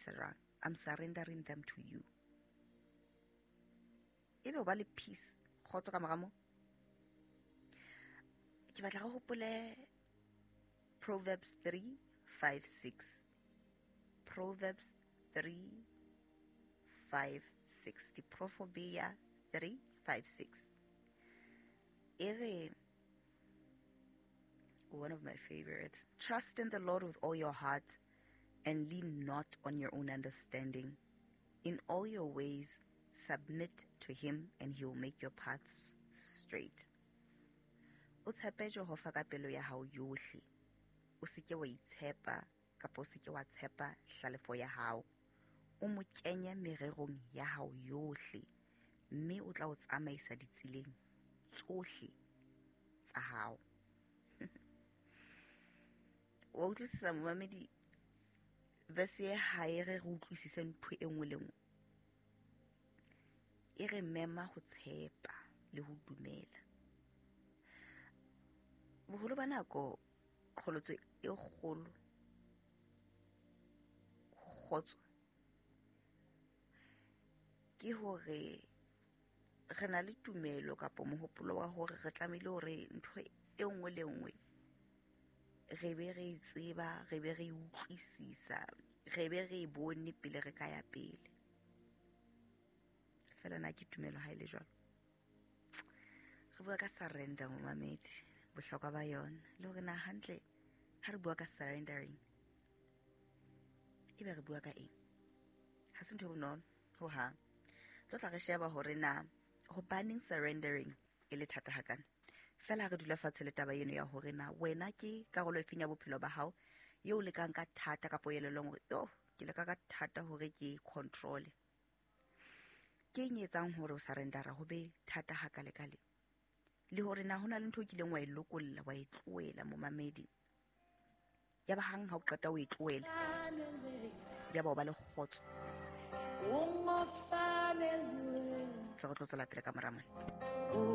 tsamaisa jwang. I'm surrendering them to you. Ebe o ba le peace, kgotso ka mora moo. Ke batla re hopole Proverbs 3 5 6. Proverbs 3 5 6. Diprofobia 3 5 6. E re, one of my favorite. Trust in the Lord with all your heart and lean not on your own understanding. In all your ways, submit to him and he will make your paths straight. O tshepe Jehova ka pelo ya hao yohle. O se ke wa itshepa kapa o se ke wa tshepa hlalefo ya hao. O mo kenye mererong ya hao yohle mme o tla o tsamaisa ditseleng tsohle tsa hao. Wa utlwisisa momamedi, verse e ha e re re utlwisise ntho e nngwe le nngwe. E re mema ho tshepa le ho dumela. Boholo ba nako qholotso e kgolo ho kgotso ke hore re na le tumelo kapa mohopolo wa hore re tlamehile hore ntho e nngwe le nngwe re be re e tseba, re be re e utlwisisa, re be re e bone pele re ka ya pele. Fela na ke tumelo ha e le jwalo. Re bua ka surrender momamedi, bohlokwa ba yona le hore na hantle ha re bua ka surrendering ebe re bua ka eng. Ha se ntho e bonolo ho hang. Tlo tla re sheba hore na hobaneng surrendering e le thata hakana. Fela ha re dula fatshe le taba eno ya hore na wena ke karolo e feng ya bophelo ba hao eo o lekang ka thata kapa o elellwang hore yo ke leka ka thata hore ke control. Ke eng e etsang hore o surrendera ho be thata hakalekale? Le hore na hona le ntho o kileng wa e lokolla, wa e tlohela momamedi. Ya ba hang ha o qeta o e tlohela, ya ba o ba le kgotso. Tse re tlo tswela pele ka mora mona.